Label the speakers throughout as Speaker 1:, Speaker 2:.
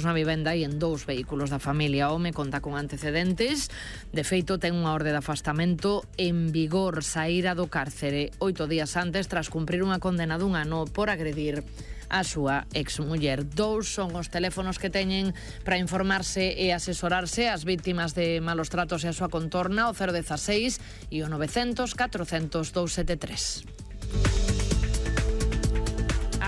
Speaker 1: na vivenda e en 2 vehículos da familia. O home conta con antecedentes. De feito, ten unha orde de afastamento en vigor. Saíra do cárcere 8 días antes tras cumprir unha condena d'1 ano por agredir a súa exmuller. 2 son os teléfonos que teñen para informarse e asesorarse as vítimas de malos tratos e a súa contorna, o 016 e o 900 400 273.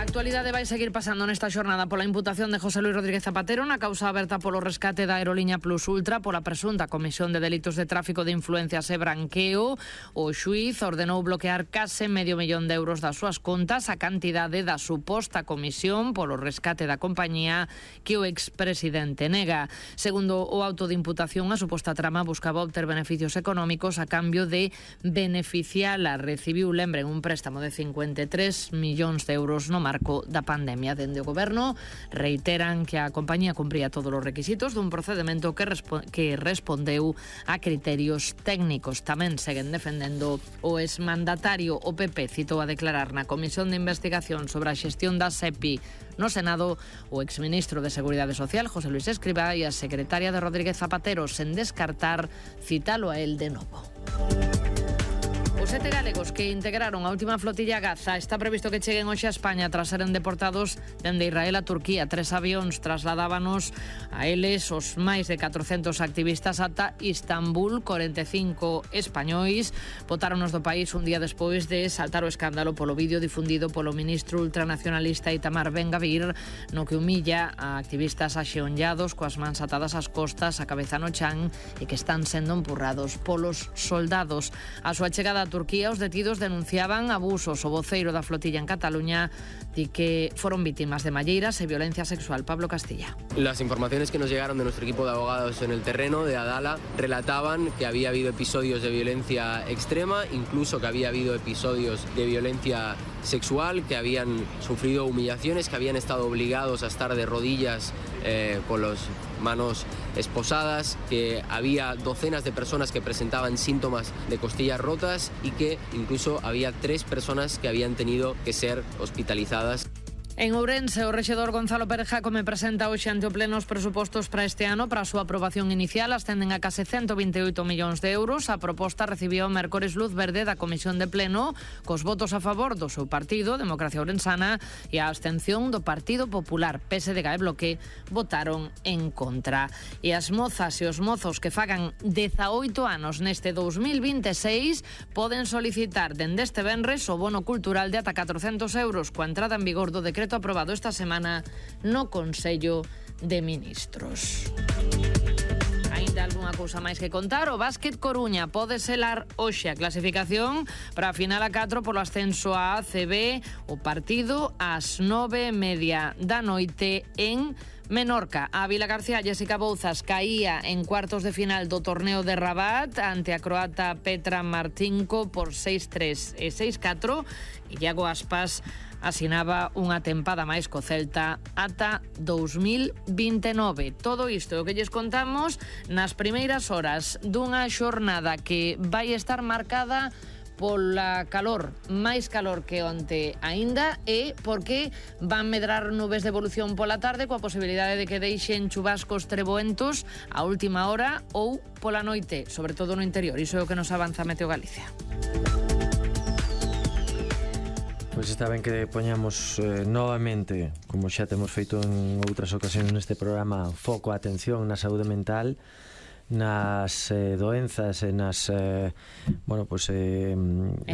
Speaker 1: A actualidade vai seguir pasando nesta xornada pola imputación de José Luis Rodríguez Zapatero na causa aberta polo rescate da aerolínea Plus Ultra pola presunta comisión de delitos de tráfico de influencias e branqueo. O xuíz ordenou bloquear case medio millón de euros das súas contas a cantidade da suposta comisión polo rescate da compañía que o expresidente nega. Segundo o auto de imputación, a suposta trama buscaba obter beneficios económicos a cambio de beneficiala. Recibiu, lembren, un préstamo de 53 millóns de euros no marco da pandemia. Dende o goberno reiteran que a compañía cumpría todos os requisitos dun procedemento que respondeu a criterios técnicos. Tamén seguen defendendo o exmandatario. O PP citou a declarar na Comisión de Investigación sobre a xestión da SEPI no Senado o exministro de Seguridade Social, José Luis Escrivá, e a secretaria de Rodríguez Zapatero, sen descartar citalo a él de novo. Os 7 galegos que integraron a última flotilla Gaza está previsto que cheguen hoxe a España tras seren deportados dende Israel a Turquía. 3 avións trasladábanos a eles os máis de 400 activistas ata Istambul. 45 españois botáronos do país un día despois de saltar o escándalo polo vídeo difundido polo ministro ultranacionalista Itamar Ben-Gvir, no que humilla a activistas axeonllados coas mans atadas ás costas, a cabeza no chan, e que están sendo empurrados polos soldados. A súa chegada a Turquía, os detidos denunciaban abusos. O voceiro da flotilla en Cataluña di que fueron víctimas de malleiras e violencia sexual. Pablo Castilla.
Speaker 2: Las informaciones que nos llegaron de nuestro equipo de abogados en el terreno de Adala relataban que había habido episodios de violencia extrema, incluso que había habido episodios de violencia sexual, que habían sufrido humillaciones, que habían estado obligados a estar de rodillas con las manos esposadas, que había docenas de personas que presentaban síntomas de costillas rotas y que incluso había 3 personas que habían tenido que ser hospitalizadas.
Speaker 1: En Ourense, o rexedor Gonzalo Pérez Jácome presenta hoxe ante o pleno os presupostos para este ano. Para a súa aprobación inicial ascenden a case 128 millóns de euros. A proposta recibiu mércores luz verde da Comisión de Pleno, cos votos a favor do seu partido, Democracia Ourensana, e a abstención do Partido Popular. PSDG e Bloque votaron en contra. E as mozas e os mozos que fagan 18 anos neste 2026 poden solicitar dende este venres o bono cultural de ata 400 euros coa entrada en vigor do decreto aprobado esta semana no Consello de Ministros. Ainda algunha cousa máis que contar. O Básquet Coruña pode selar hoxe a clasificación para a final a 4 polo ascenso a ACB. O partido ás 9:30 da noite en Menorca. A Vila García, Jessica Bouzas caía en cuartos de final do torneo de Rabat ante a croata Petra Martinko por 6-3 e 6-4. E Iago Aspas asinaba unha tempada máis co Celta ata 2029. Todo isto é o que lles contamos nas primeiras horas dunha xornada que vai estar marcada pola calor, máis calor que onte aínda, e porque van medrar nubes de evolución pola tarde coa posibilidade de que deixen chubascos treboentos a última hora ou pola noite, sobre todo no interior. Iso é o que nos avanza Meteo Galicia.
Speaker 3: Pois está ben que poñamos novamente, como xa temos feito en outras ocasións neste programa, foco a atención na saúde mental, nas doenzas e nas
Speaker 1: en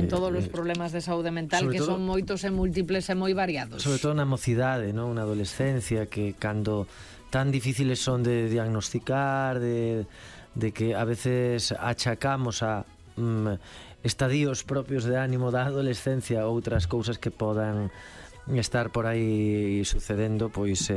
Speaker 1: todos os problemas de saúde mental, que son moitos e múltiples e moi variados.
Speaker 3: Sobre todo na mocidade, non? Na adolescencia, que cando tan difíciles son de diagnosticar, de que a veces achacamos a estadios propios de ánimo da adolescencia, outras cousas que podan estar por aí sucedendo, pois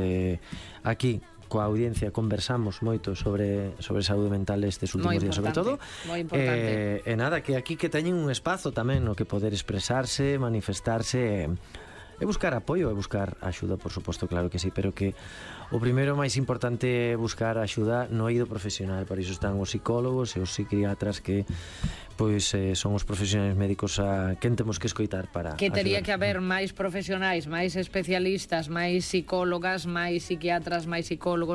Speaker 3: aquí coa audiencia conversamos moito sobre saúde mental estes últimos días, sobre todo.
Speaker 1: Moi importante.
Speaker 3: E nada, que aquí que teñen un espazo tamén no que poder expresarse, manifestarse e buscar apoio e buscar axuda, por suposto, claro que sí, pero que o primeiro máis importante é buscar axuda no eido profesional. Para iso están os psicólogos e os psiquiatras, que pois son os profesionais médicos a quen temos que escoitar para
Speaker 1: que tería
Speaker 3: ayudar.
Speaker 1: que haber máis profesionais, máis especialistas, máis psicólogas, máis psiquiatras, máis psicólogos,